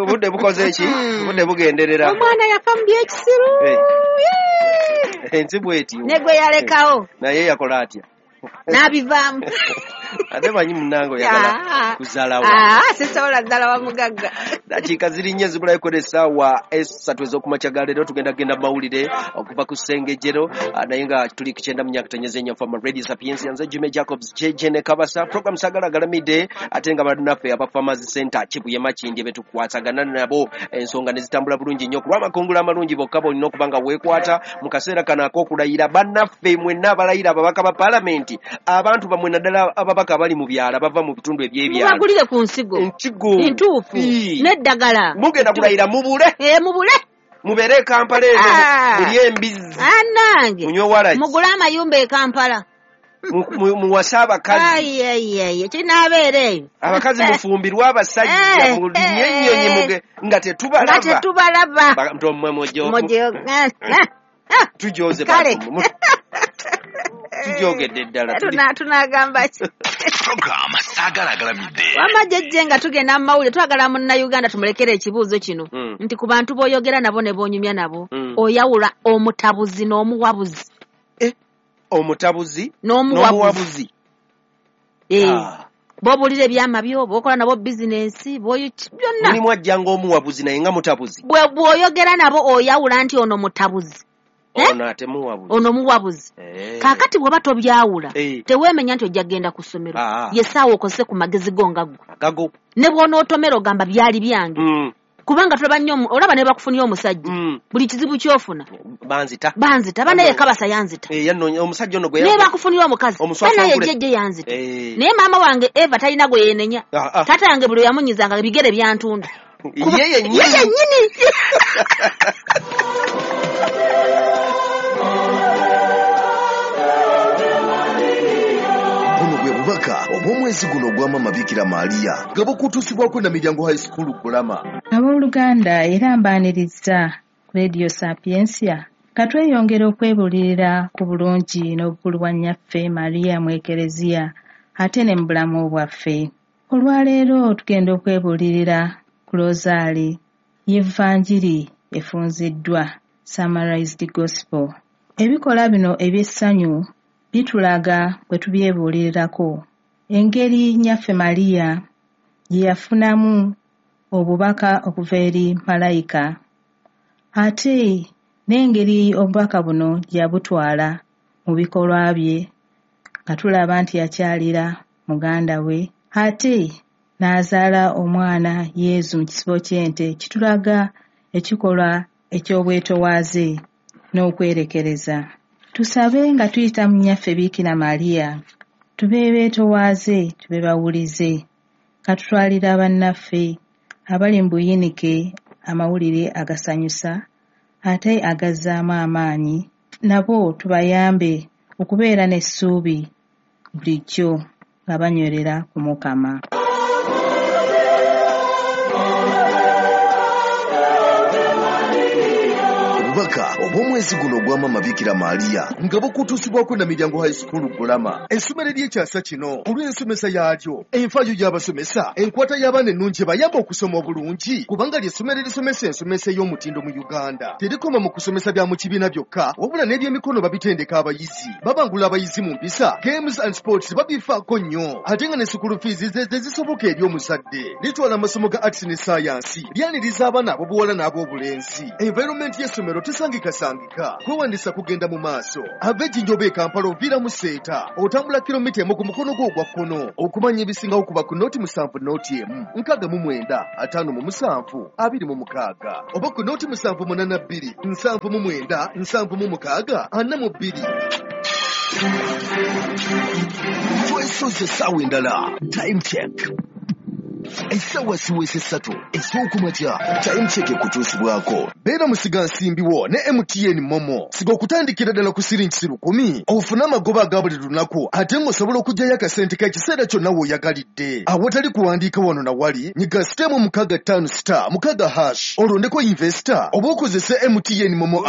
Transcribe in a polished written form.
Obudde bukoze ki? Obudde bugenderera. Omwana yafa mu byekisiru. Ensi bw'etyo. Ne gwe yalekawo. Naye yakola atya? N'abivaamu. Ate manyi munnange oyagala kuzaalawa. Sisobola zaalawa mugagga. Dakiika ziri nnya zibulayo kwera essaawa 3 ez'okumakya ga leero. Tugenda genda mawulire okuva ku Ssengejjero, naye nga tuli ku 94.4 Fama Radio Sapientia. Nze Jimmy Jacobs JJ ne Kabasa. Program Sagala Galamidde, ate nga bannaffe aba Farmers Center Kibuye Makindye betukwatagana nabo ensonga ne zitambula bulungi nnyo ku lw'amakungula amalungi. Bokka bolina okuba nga weekwata mu kaseera kano ak'okulayira. Bannaffe mwenna abalayira ababaka ba paalamenti, abantu bamwe naddala ababaka abali mu byalo bava mu bitundu eby'ebyalo, mubagulire ku nsigo entuufu n'eddagala. Mugenda kulayira mubule, mubule, mubeere e Kampala eno, mulye embizzi, annange munywe waragi, mugule amayumba e Kampala, muwase abakazi. Ayi kinaabeera eyo. Abakazi mufumbirwe abasajja, mulinye ennyonyi muge nga tetubalaba, nga tetubalaba. Ntommwe tujoze tujogedde ddala. Tunagamba ki? Program Sagala Galamidde. Wamma jjajja nga tugenda mu mawulire, twagala munnayuganda tumulekere ekibuuzo kino nti ku bantu b'oyogera nabo ne b'onyumya nabo, oyawula omutabuzi n'omuwabuzi. Omutabuzi n'omuwabuzi. B'obuulira ebyama byo, b'okola nabo bizinensi, byonna. Mulimu ajja ng'omuwabuzi naye nga mutabuzi. Bw'oyogera nabo oyawula nti ono mutabuzi. Ono ate muwabuzi. Ono muwabuzi. Kaakati bw'oba tobyawula, teweemenya nti ojja kugenda ku ssomero. Ye ssaawa okozese ku magezi go nga ggwe. Gago. Ne bw'onootomera ogamba byali byange. Kubanga tulaba nnyo, olaba ne bakufunira omusajja. Buli kizibu ky'ofuna. Banzita. Banzita. Banaye Kabasa yanzita. Omusajja ono gwe Ne bakufunira omukazi. Banaye jjajja yanzita. Naye maama wange Eva talina gwe yeenenya. Taata yange buli yamunyizanga ebigere byantunda. Ye yennyini. Bubaka obw'omwezi guno ogwa Maama Bikira Maria nga bukutuusibwako na Miryango High School Bulama. Abooluganda, era mbaaniriza ku Radio Sapientia. Ka tweyongera okwebuulirira ku bulungi n'obukulu bwa nnyaffe Maria mu Ekereziya ate ne mu bulamu bwaffe. Olwaleero tugenda okwebuulirira ku Rosaali y'Evanjiri efunziddwa, Summarized Gospel. Ebikola bino eby'essanyu bitulaga bwe tubyebuulirirako engeri nnyaffe Maria gye yafunamu obubaka okuva eri malayika, ate n'engeri obubaka buno gye yabutwala mu bikolwa bye, nga tulaba nti yakyalira muganda we ate n'azaala omwana Yezu mu kisibo ky'ente, kitulaga ekikolwa eky'obwetowaaze n'okwerekereza. Tusabe nga tuyita mu nnyaffe Bikira Maria, tube beetowaaze, tube bawulize, nga tutwalira bannaffe abali mu buyinike amawulire agasanyusa ate agazzaamu amaanyi, nabo tubayambe okubeera n'essuubi bulijjo nga banywerera ku Mukama. Obubaka obw'omwezi guno ogwa Maama Bikira Maria nga bukutuusibwako na Miryango High School Bulama. Essomero ery'ekyasa kino olw'ensomesa yaalyo, enfaayo y'abasomesa, enkwata y'abaana ennungi ebayamba okusoma obulungi, kubanga ly'essomero erisomesa ensomesa ey'omutindo mu Uganda. Terikoma mu kusomesa bya mu kibiina byokka, wabula n'ebyemikono babitendeka abayizi. Babangula abayizi mu mpisa, games and sports babifaako nnyo, ate nga ne school fees ze zisoboka eri omuzadde. Litwala amasomo ga arts ne science, lyaniriza abaana ab'obuwala n'ab'obulenzi. Environment y'essomero tesangikasangika. Kwewandisa kugenda mu maaso. Ava Ejjinja e Kampala oviira mu Seeta, otambula kilomita 1 ku mukono gwo ogwa kkono. Okumanya ebisingawo kuba ku 07 01 69 57 26 oba ku 0782 79 76 42. Twesoze essaawa endala. Time check. Essaawa siweesa 3 ez'okumakya. Time check ekutuusibwako. Beera musigansimbi wo ne MTN Momo. Siga okutandikira ddala ku siringi 10,000 ofune amagoba aga buli lunaku, ate ng'osobola okuggyayo akasente k'ekiseera kyonna w'oyagalidde. Awatali kuwandiika wano na wali, nyiga *656*6# olondeko investor oba okozese MTN Momo app.